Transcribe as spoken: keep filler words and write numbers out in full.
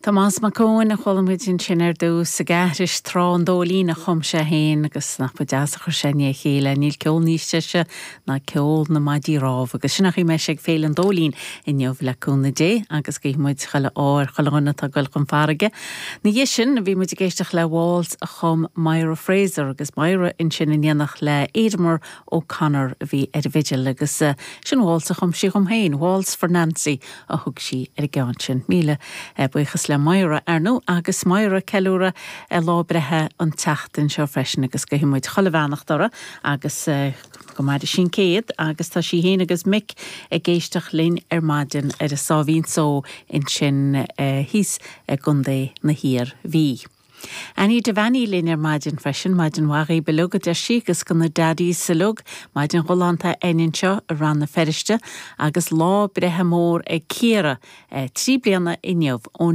Tomás Mac Eoin a chuala muid ansin ar dtús ag aithris Trá an Dóilín a chum sé féin agus nach ba deas a chuir sé le chéile níl ceol níos deise ná ceol na maidí rámh agus sin chuige sé ag Féile an Dóilín inniu le cúnamh Dé agus guíonn muid chuile ádh ar chuile dhuine atá ag dul chun farraige. Ina dhiaidh sin bhí muid ag éisteacht le Waltz a chum Myra Fraser agus Myra ansin in éineacht le Aidemer O'Connor a bhí ar an bhfidil agus uh, sin Waltz a chum sí dom féin, Waltz for Nancy a thug sí ar an gceann sin. Míle uh, buíochas le Myra arnú agus Myra ceiliúradh lá breithe an tseachtain seo freisin agus guímid chuile bheannacht uirthi agus uh, go maire sí céad agus tá sí féin agus Mick ag éisteacht linn ar maidin ar a sáimhín só ansin uh, thíos i gContae na hIarmhí. Annie Devaney linn ar maidin freisin maidin mhaith uilig a deir sí agus go na daddies uilig maidin ghalánta againn anseo i Rann na Feirste agus lá breithe mór ag Ciara eh, trí bliana inniu ón